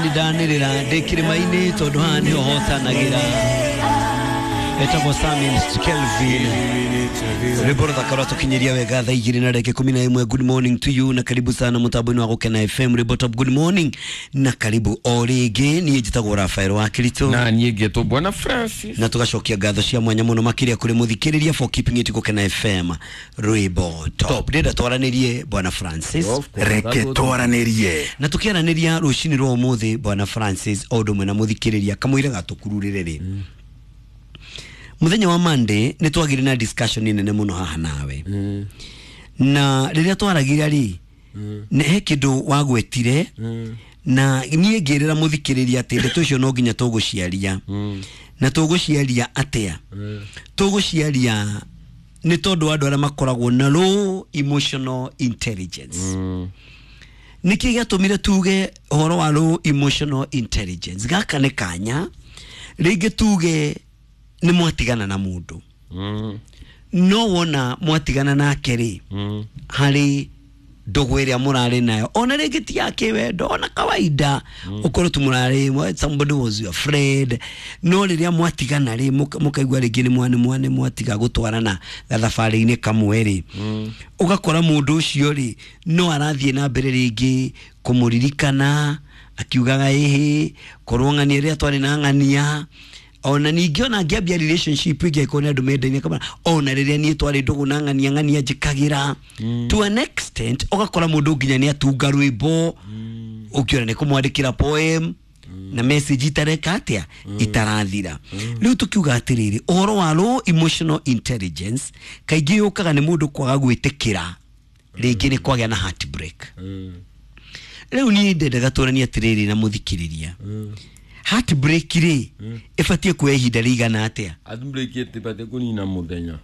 Ndanĩrĩra ndĩ kĩrĩma-inĩ tondũ haha nĩho hotanagĩra. Etagwo Samin Kelvin. Rwĩmbo rũthaka rwatũkinyĩria wega thaa 2:11. Good morning to you na karibu sana mũtambo-inĩ wa Gũkena FM. Rwĩmbo top. Good morning na karibu o rĩngĩ. Niĩ njĩtagwo Rafael wa Kirito na niĩ ngetwo Bwana Francis, na tugacokia ngatho cia mwanya mũno makĩria kũrĩ mũthikĩrĩria for keeping it Gũkena FM. Rwĩmbo top. Ndĩrenda twaranĩrie Bwana Francis. Reke twaranĩrie. Na tukiaranĩria rũcinĩ rwa ũmũthĩ Bwana Francis o ũndũ ũmwe na mũthikĩrĩria kamũira gatũkururĩre rĩ, muthenya wa Monday nĩ twagire na discussion nene mũno haha nawe, na rĩrĩa twaragia rĩ, nĩ he kĩndũ wagwetire, na niĩ ngĩrĩra mũthikĩrĩria atĩ ndeto icio no nginya tũgũciaria. Na tũgũciaria atĩa? Tũgũciaria nĩ tondũ andũ arĩa makoragwo na low emotional intelligence. Nĩkĩ gĩatũmire tuge ũhoro wa low emotional intelligence? Gaka nĩ kanya rĩngĩ tuge nĩ mwatigana na mũndũ, no wona mwatigana nake rĩ, harĩ ndũgũ ĩrĩa mũrarĩ nayo, ona rĩngĩ ti ya kĩwendo, ona kawaida ũkorwo tu mũrarĩ, somebody was your friend, no rĩrĩa mwatigana rĩ, mũkaigua rĩngĩ nĩ mwatiga gũtwarana gathabarĩ-inĩ kamwe rĩ, ũgakora mũndũ ũcio rĩ no arathiĩ na mbere rĩngĩ kũmũririkana akiugaga ĩhĩ korwo ng'ania rĩrĩa twarĩ na ng'ania. Ona ningĩ ona ngĩambia relationship ĩngĩ angĩkorwo nĩ andũ mendaine kamara, ona rĩrĩa niĩ twarĩ ndũgũ na ng'ania ng'ania njĩkagĩra, to an extent ũgakora mũndũ nginya nĩ atunga rwĩmbo, ũkĩona nĩ kũmwandĩkĩra poem na message itareka atĩa, itarathira. Rĩu tũkiuga atĩrĩrĩ, ũhoro wa low emotional intelligence kaingĩ yũkaga nĩ mũndũ kwaga gwĩtĩkĩra rĩngĩ nĩ kwagĩa na heartbreak. Rĩu niĩ ndendaga tũranie atĩrĩrĩ na mũthikĩrĩria, heartbreak rĩ ĩbatiĩ kuoya ihinda rĩigana atĩa? Heartbreak ĩtibatiĩ kũnina mũthenya.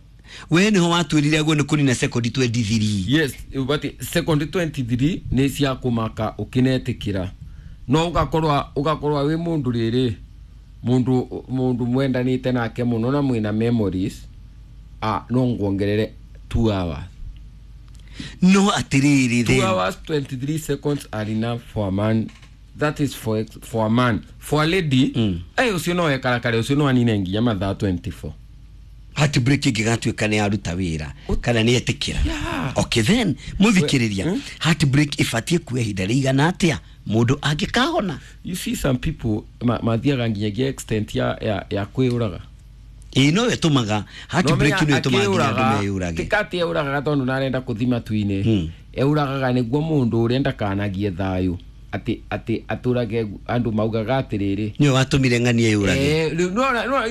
We nĩho watwĩrire guo nĩ kũnina sekondi 23. Yes, ĩbatiĩ sekondi 23 nĩ cia kũmaka ũkĩnetĩkĩra, no ũgakorwa wĩ mũndũ rĩrĩ, mũndũ mwendanĩte nake mũno na mwĩna memories, no nguongerere 2 hours. No atĩrĩrĩ, 2 hours 23 seconds are enough for a man. That is for a man. For a lady, ũcio no ekarakare, ũcio no anine nginya mathaa 24. Heartbreak ĩngĩgatuĩka nĩ aruta wĩra kana nĩ etĩkĩra. Okay then, mũthikĩrĩria, heartbreak ĩbatiĩ kuoya ihinda rĩigana atĩa mũndũ angĩkahona? You see some people mathiaga nginyagia extent ya kwĩyũraga. Ĩĩ, no ĩtũmaga heartbreak, no ĩtũmaga nginya andũ meyũrage. Ti atĩ eũragaga tondũ ndarenda kũthi matu-inĩ, eũragaga nĩguo mũndũ ũrĩa ndakanagie thayũ, atĩ atũrage andũ maugaga atĩrĩrĩ, nĩwe watũmire ng'ania yũrage.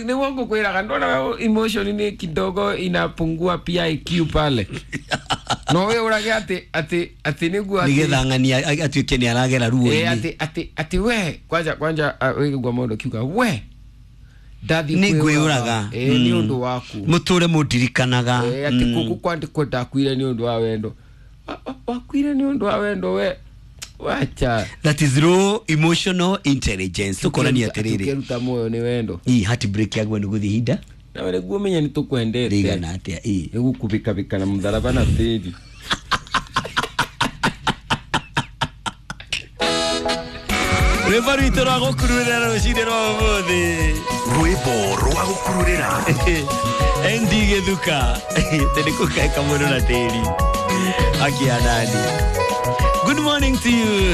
Nĩguo ngũkwĩraga, ndona emotion nĩ kidogo inapungua pia IQ pale. No wĩũrage atĩ nĩguo nĩgetha ng'ania atuĩke nĩ aragera ruo-inĩ. Atĩ we kwanja wĩigua mũndũ akiuga we ndathi nĩ ngwĩyũraga nĩ ũndũ waku, mũtũre mũndirikanaga, atĩ gũkũ kwandĩkwo ndakuire nĩ ũndũ wa wendo, wakuire nĩ ũndũ wa wendo we. Wacha. That is low emotional intelligence. Tukorania atĩrĩrĩ, tukeruta moyo nĩ wendo. Ii heartbreak yagwo nĩ gũthiĩ ihinda nawe nĩguo ũmenye nĩ tũkwendete rĩigana atĩa? Ii nĩ gũkubĩkabĩka na mũtharaba na tĩri. Rwĩmbo rwitũ rwa gũkururĩra rũcinĩ rwa ũmũthĩ. Rwĩmbo rwa gũkururĩra. ND Gĩthuka tĩ nĩ kũkaĩka mũndũ na tĩri akianani. Good morning to you.